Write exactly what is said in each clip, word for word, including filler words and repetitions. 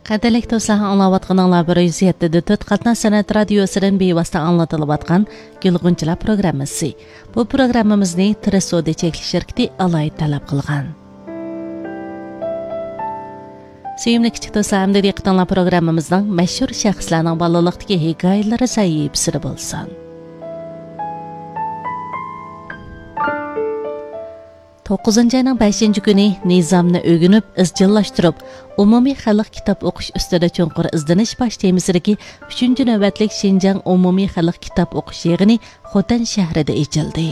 قەدىرلىك دوستلار، ئاڭلاۋاتقىنىڭلار بىر يۈز يەتتە دە تۆت قاتناش سەنئەت رادىيوسىدىن بىۋاسىتە ئاڭلىتىلىۋاتقان گۈلغۇنچىلار پروگراممىسى. بۇ پروگراممىمىزنى تىرىس سودا چەكلىك شىركىتى ئالاھىدە تەلەپ قىلغان. سۆيۈملۈك كىچىك دوستلار، ئەمدى دىققىتىڭلار پروگراممىمىزنىڭ مەشھۇر شەخسلەرنىڭ بالىلىقتىكى ھېكايىلىرى سەھىپىسىدە بولسۇن. توققۇزىنچى ئاينىڭ بەشىنچى كۈنى نىزامنى ئۆگىنىپ، ئىزچىللاشتۇرۇپ، ئومۇمىي خەلق كىتاب ئوقۇش ئۈستىدە چوڭقۇر ئىزدىنىش باش تېمىسىدىكى ئۈچىنچى نۆۋەتلىك شىنجاڭ ئومۇمىي خەلق كىتاب ئوقۇش يىغىنى خوتەن شەھىرىدە ئېچىلدى.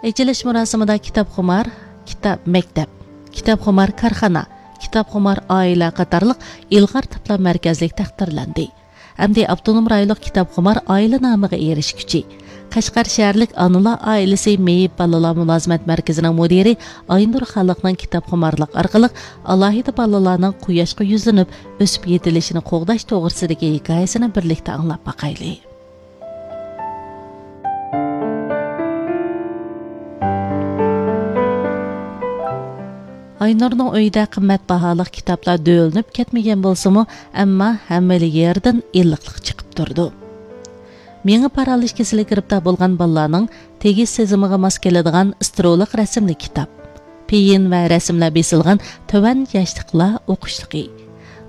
ئېچىلىش مۇراسىمىدا كىتابخۇمار كىتاب مەكتەپ، كىتابخۇمار كارخانا، كىتابخۇمار ئائىلە قاتارلىق ئىلغار تىپلار مەركەزلىك تەقدىرلەندى. ئەمدى ئاپتونوم رايونلۇق كىتابخۇمار ئائىلە نامىغا ئېرىشكۈچى، قەشقەر شەھەرلىك ئانىلار ئائىلىسى مېيىپ بالىلار مۇلازىمەت مەركىزىنىڭ مۇدىرى ئاينۇر خالىقنىڭ كىتابخۇمارلىق ئارقىلىق ئالاھىدە بالىلارنىڭ قۇياشقا يۈزلىنىپ، ئۆسۈپ يېتىلىشىنى قوغداش توغرىسىدىكى ھېكايىسىنى بىرلىكتە ئاڭلاپ باقايلى. ئاينۇرنىڭ ئۆيىدە قىممەت باھالىق كىتابلار دۆۋىلىنىپ كەتمىگەن بولسىمۇ، ئەمما ھەممىلا يېرىدىن ئىللىقلىق چىقىپ تۇرىدۇ. مېڭە پارالىچ كېسىلىگە گىرىپتار بولغان بالىلارنىڭ تېگىش سېزىمىغا ماس كېلىدىغان ئىسترولۇق رەسىملىك كىتاب، پېيىن ۋە رەسىملەر بېسىلغان تۆۋەن ياشلىقلار ئوقۇشلۇقى،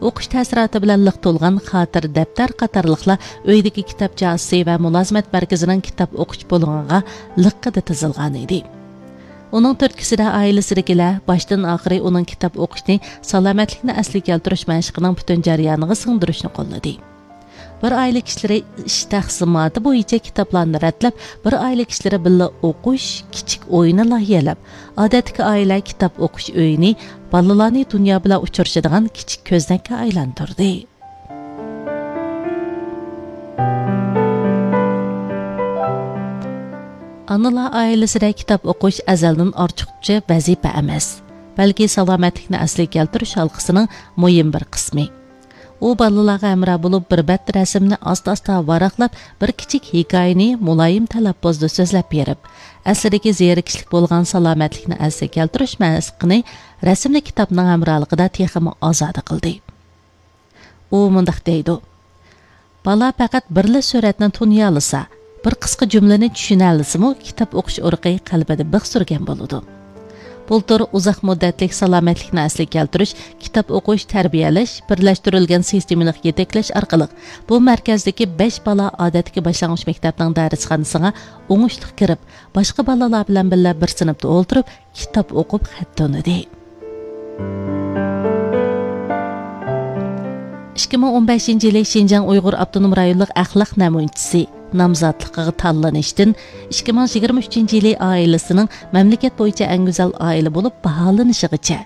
ئوقۇش تەسىراتى بىلەن لىق تولغان خاتىرە دەپتەر قاتارلىقلار ئۆيدىكى كىتاب جازىسى ۋە مۇلازىمەت مەركىزىنىڭ كىتاب ئوقۇش بۇلۇڭىغا لىققىدە تىزىلغان ئىدى. ئۇنىڭ تۈرتكىسىدە ئائىلىسىدىكىلەر باشتىن ئاخىرى ئۇنىڭ كىتاب ئوقۇشنى سالامەتلىكنى ئەسلىگە كەلتۈرۈش مەشقىنىڭ پۈتۈن جەريانىغا سىڭدۈرۈشنى قوللىدى. بىر ئائىلە كىشىلىرى ئىش تەقسىماتى بويىچە كىتابلارنى رەتلەپ، بىر ئائىلە كىشىلىرى بىللە ئوقۇش، كىچىك ئويۇنى لايىھەلەپ، ئادەتتىكى ئائىلە كىتاب ئوقۇش ئۆيىنى بالىلارنى دۇنيا بىلەن ئۇچرىشىدىغان كىچىك كۆزنەككە ئايلاندۇردى. ئانىلار ئائىلىسىدە كىتاب ئوقۇش ئەزەلدىن ئارتۇقچە ۋەزىپە ئەمەس، بەلكى سالامەتلىكنى ئەسلىگە كەلتۈرۈش ھالقىسىنىڭ مۇھىم بىر قىسمى. ئۇ بالىلارغا ھەمراھ بولۇپ، بىر بەت رەسىمنى ئاستا-ئاستا ۋاراقلاپ، بىر كىچىك ھېكايىنى مۇلايىم تەلەپپۇزدا سۆزلەپ بېرىپ، ئەسلىدىكى زېرىكىشلىك بولغان سالامەتلىكنى ئەسلىگە كەلتۈرۈش مەشقىنى رەسىملىك كىتابنىڭ ھەمراھلىقىدا تېخىمۇ ئازادە قىلدى. ئۇ مۇنداق دەيدۇ: بالا پەقەت بىرلا سۈرەتنى تونۇيالىسا، بىر قىسقا جۈملىنى چۈشىنەلىسىمۇ، كىتاب ئوقۇش ئۇرۇقى قەلبىدە بىخ سۈرگەن بولىدۇ. بۇلتۇر ئۇزاق مۇددەتلىك سالامەتلىكنى ئەسلىگە كەلتۈرۈش، كىتاب ئوقۇش، تەربىيەلەش، بىرلەشتۈرۈلگەن سىستېمىلىق يېتەكلەش ئارقىلىق بۇ مەركەزدىكى بەش بالا ئادەتتىكى باشلانغۇچ مەكتەپنىڭ دەرسخانىسىغا ئوڭۇشلۇق كىرىپ، باشقا بالىلار بىلەن بىللە بىر سىنىپتا ئولتۇرۇپ، كىتاب ئوقۇپ خەت تونۇدى. ئىككى مىڭ ئون بەشىنچى يىلى شىنجاڭ ئۇيغۇر ئاپتونوم رايونلۇق ئەخلاق نەمۇنىچىسى نامزاتلىقىغا تاللىنىشتىن ئىككى مىڭ يىگىرمە ئۈچىنچى يىلى ئائىلىسىنىڭ مەملىكەت بويىچە ئەڭ گۈزەل ئائىلە بولۇپ باھالىنىشىغىچە،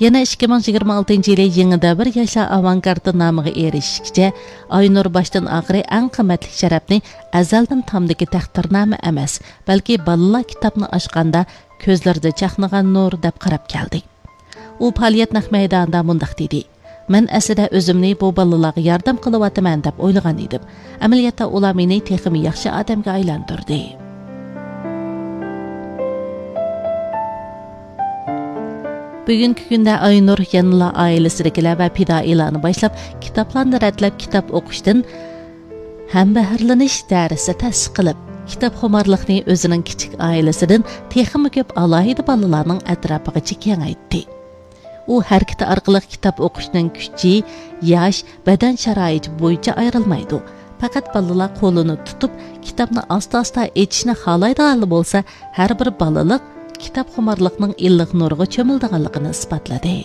يەنە ئىككى مىڭ يىگىرمە ئالتىنچى يىلى يېڭى دەۋر ياشلار ئاۋانگارتى نامىغا ئېرىشىشكىچە، ئاينۇر باشتىن ئاخىرى ئەڭ قىممەتلىك شەرەپنى ئەزەلدىن تامدىكى تەقدىرنامە ئەمەس، بەلكى بالىلار كىتابنى ئاچقاندا كۆزلىرىدە چاقنىغان نۇر دەپ قاراپ كەلدى. ئۇ پائالىيەت نەق مەيدانىدا مۇنداق دېدى: مەن ئەسلىدە ئۆزۈمنى بۇ بالىلارغا ياردەم قىلىۋاتىمەن دەپ ئويلىغان ئىدىم. ئەمەلىيەتتە ئۇلار مېنى تېخىمۇ ياخشى ئادەمگە ئايلاندۇردى. بۈگۈنكى كۈندە ئاينۇر يەنىلا ئائىلىسىدىكىلەر ۋە پىدائىيلارنى باشلاپ، كىتابلارنى رەتلەپ، كىتاب ئوقۇشتىن ھەمبەھىرلىنىش دەرسى تەسىس قىلىپ، كىتابخۇمارلىقنى ئۆزىنىڭ كىچىك ئائىلىسىدىن تېخىمۇ كۆپ ئالاھىدە بالىلارنىڭ ئەتراپىغىچە كېڭەيتتى. ئۇ ھەرىكىتى ئارقىلىق كىتاب ئوقۇشنىڭ كۈچى، ياش، بەدەن شارائىتى بويىچە ئايرىلمايدۇ. پەقەت بالىلار قولىنى تۇتۇپ، كىتابنى ئاستا-ئاستا ئېچىشنى خالايدىغانلا بولسا، ھەر بىر بالىلىق كىتابخۇمارلىقنىڭ ئىللىق نۇرىغا چۆمۈلىدىغانلىقىنى ئىسپاتلىدى.